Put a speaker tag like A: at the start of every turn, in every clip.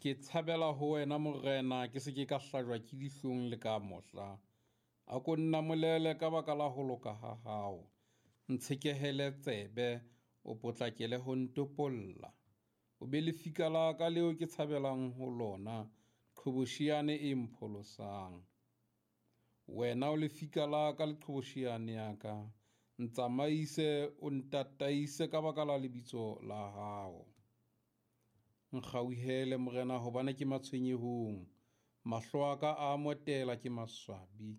A: Ke tshabela ho wena Morena, ke se ke ka hlajwa ke dihlong le ka mohla. A ko nnamolele ka baka la ho loka ha hao, ntshekehele tsebe, o potlakele ho ntopolla. O be lefika la ka leo ke tshabelang ho lona, qhobosheane e mpholosang. Wena o lefika la ka le qhobosheane ya ka, ntsamaise o ntataise ka baka la lebitso la hao. Nkgauhele Morena hobane ke matshwenyehong, mahlo a ka a motela ke maswabi,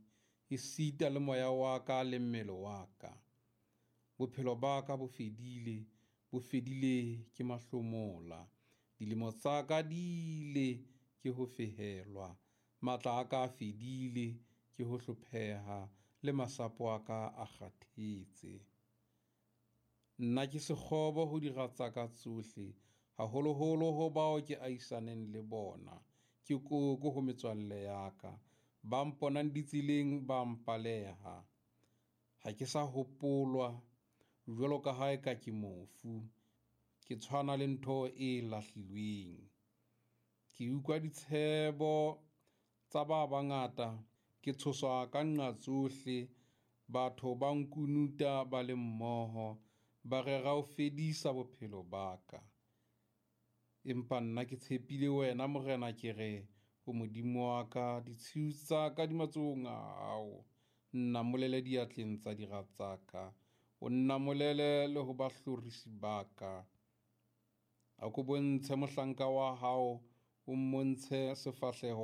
A: esita le moya wa ka le mmele wa ka. Bophelo ba ka bo fedile, bo fedile ke mahlomola, dilemo tsa ka di ile ke ho fehelwa, matla a ka a fedile ke ho hlopheha, le masapo a ka a kgathetse. Nna ke sekgobo ho dira tsa ka tsohle, haholoholo ho bao ke ahisaneng le bona, ke koko ho metswalle ya ka, ba mponang ditseleng ba mpaleha. Ha ke sa hopolwa jwalo ka ha eka ke mofu, ke tshwana le ntho e lahlilweng. Ke utlwa ditshebo tsa ba bangata, ke tshoswa ka nqa tsohle, batho ba nkunuta ba le mmoho, ba rera ho fedisa bophelo ba ka. Empa nna ke tshepile wena Morena, ke re o Modimo wa ka, ditshiu tsa ka di matsohong a hao, nnamolele diatleng tsa dira tsa ka, o nnamolele le ho bahlorisi ba ka. A ko bontshe mohlanka wa hao, o mmontshe sefahleho.